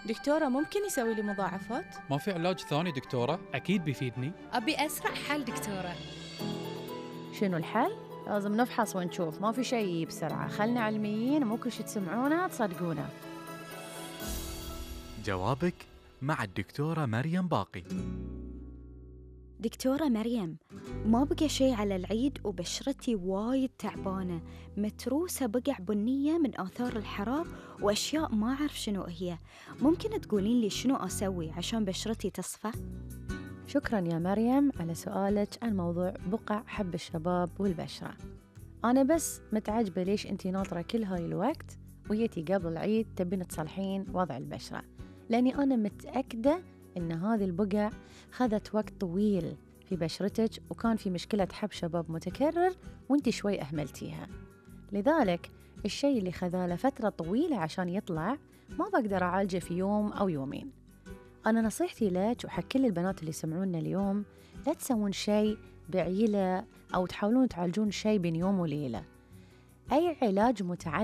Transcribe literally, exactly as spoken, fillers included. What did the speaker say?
دكتورة ممكن يسوي لي مضاعفات؟ ما في علاج ثاني دكتورة؟ أكيد بيفيدني. أبي أسرع حل دكتورة. شنو الحل؟ لازم نفحص ونشوف، ما في شيء بسرعة. خلنا علميين، مو كل شي تسمعونه تصدقونه. جوابك مع الدكتورة مريم باقي. دكتورة مريم، ما بقى شيء على العيد وبشرتي وايد تعبانة، متروسة بقع بنية من آثار الحرار وأشياء ما أعرف شنو هي. ممكن تقولين لي شنو أسوي عشان بشرتي تصفى؟ شكراً يا مريم على سؤالك عن موضوع بقع حب الشباب والبشرة. أنا بس متعجبة ليش أنتي ناطرة كل هاي الوقت ويتي قبل العيد تبين تصلحين وضع البشرة، لأني أنا متأكدة إن هذه البقع خذت وقت طويل في بشرتك وكان في مشكلة حب شباب متكرر وانتي شوي أهملتيها. لذلك الشيء اللي خذاله فترة طويلة عشان يطلع ما بقدر أعالجه في يوم أو يومين. أنا نصيحتي لك وحق كل البنات اللي يسمعونا اليوم، لا تسوون شيء بعيلة أو تحاولون تعالجون شيء بين يوم وليلة. أي علاج متعلق